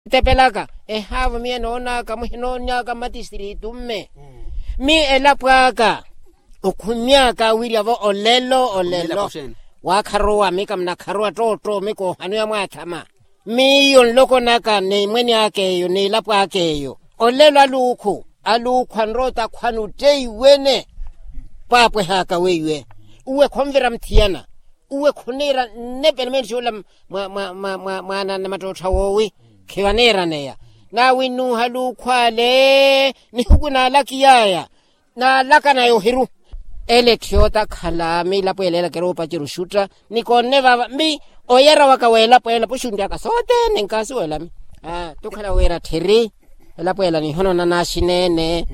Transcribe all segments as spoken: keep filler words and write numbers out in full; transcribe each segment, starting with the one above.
Tepelaka ehaavo miyo enoonaka muhinoonyaka mmatistiritu mme. Mi elapo aka okhumyaka wirya-vo olelo olelo. Waakharuwa mika munakharuwa ttootto mika ohanu yamwaathama. Miyo nloko naka n'emweni aka eyo n'elapo aka eyo. Olelo aluukhu aluukhu anrowa otakhwana otteiwene. Pwaapwehaka weiwe uwe khonvira muthiyana. Uwe khuniira nnepenemeeni xoola mwa mwa mwa mwa mwaana nnamattootha woowi. Khivaneeraneya nawe nnuuha aluukhu ale nihuku naalakiyaya. Naalaka naya ohiru ele etthiyoota akhala miilapo ela ela kiroopacera oxutta. Nikoonne vava mbi oyera waka w'elapo ela puxunttaka sothene nkaasuwelami. Aa tukhala wira tthiri elapo ela nihonona naaxineene.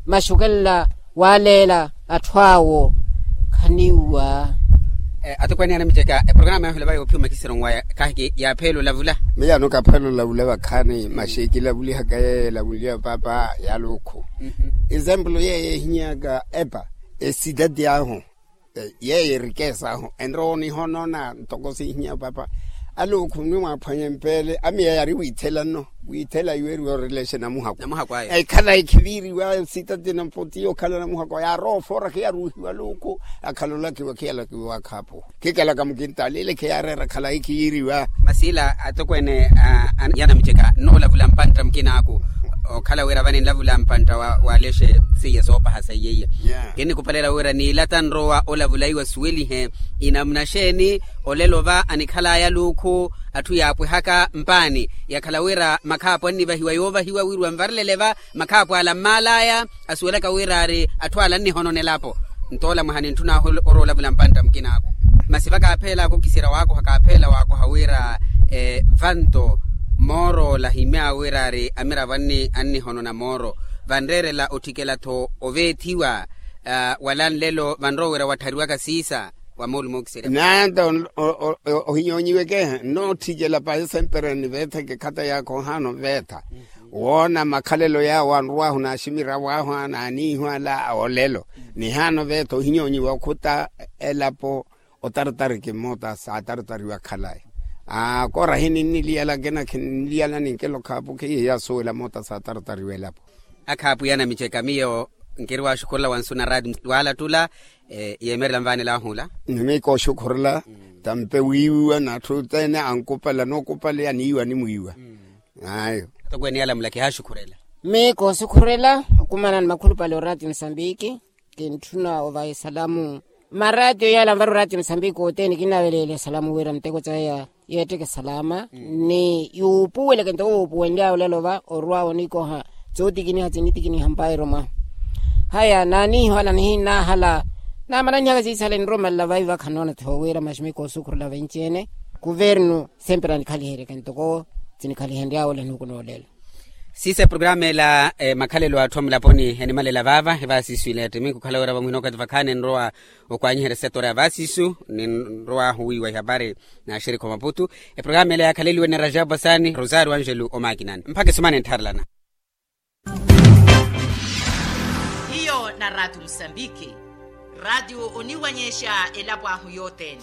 Maxukelela waaleela atthu awo khaniwa. Atukweene anamiceka eprograma yahulava yoophiwa makisiro nwaya kaahiki yaapheela olavula. Miyaano kaapheela olavula vakhaani maxi kilavulihaka yeeyo elavunliwa paapa. Yaluukhu example yeeyo ehinyaka epa esitati ahu yeeyo erikesa ahu enrowa onihonona ntoko siihinya paapa. Aluukhu mwi mwaaphwanya empeele amiya yaari wiithela nno. Wiithela iweeriwa orelexena muhakwa. Ekhala ekhiviiriwa sitati nampotiya okhala namuhakwa yaarowa ofoora khiyaruuhiwa aluukhu. Akhala olakiwa khiyalakiwa wakhaapuwa khikelaka mukintaali ile khiyaareera khalayi khiyiiriwa. Masi ila atokweene yanamiceka nnoolavula mpantta mukinaaku. Okhala wira vani nlavula mpantta wa lexe seiya soopaha seiya iya. Kinnikhupalela wira niilata nrowa olavula iwe asuwelihe inamuna xeeni. Olelo va anikhalaya aluukhu atthu yaapwehaka mpaani yakhala wira makhaapu annivahiwa yoovahiwa wiriwa nvarilele va makhaapu ala mmaalaya. Asuwelaka wira ari atthu ala annihonona elapo. Ntoola mwaha nintthunaahu orowa olavula mpantta mukinaaku. Masi vakaapheelaka okisira waakoha kaapheela waakoha wira vanto mooroola himyaawe wira ari amiravo annihonona mooro. Vanreerela otthikela-tho oveethiwa wala nlelo vanrowa wira watthariwaka siisa. Wa moolumo okisira nanta ohinyoonyiweke nnootthikela pahi sempre niveetheke khata yaakha ohaana oveetha. Woona makhalelo yaawo anrowaahu naaximiryawahu anaaniihu ala a olelo. Nihaana oveetha ohinyoonyiwa okhuta elapo otaratari kimmoota saataratariwa khalayi. Aa koorahi ninniliyala akina khinniliyala ninkelo khaapu khiye yaasuwela moota saataratariwa elapo. Akhaapu yanamiceka miyo nkiri waaxukhurela wansu na raati waalattula. Yeemerela nvaanelahula. Ni miika oxukhurela tampe wiiwiwa n'atthu othene ankupala nookupala aniiwa animwiiwa. Ayo. Atokweene yalamula kihaaxukhurela. Miika oxukhurela okumana ni makhulupale oraati musambiki. Kintthuna ovaha esalamu maraatiyo yala anvara oraati musambiki othene kinnaveleela esalamu wira miteko caya yeetteke salama ni yuupuweleke ntoko wuupuwenly'awe olelo va orw'awe onikoha. Tsotikiniha tsinitikiniha mpairo mwahu haya naaniiho ala nihinnaahala. Naamananyihaka siisale nromalela vaiva khanoona tho wira maximiko osukhurela venci-ene kuvernu sempre anikhaliheryeke ntoko tsinikhalihenry'awe ole nihuku noolelo. Siisa eprograma ela makhalelo atthu amulaponi enimalela vaava evaasisu ila ya ttiminku okhala wira vamuhina okathi vakhaani enrowa okwaanyiherya setora ya vaasisu ninrowaahu wiiwa ihapari. Naaxirikha omaputu eprograma ela yaakhaleliwe ni rajabu asaani rosario anjelu omaakinani mpakha esumana enttharelana. Hiyo na raati musambiki raati oniwanyexa elapo ahu yothene.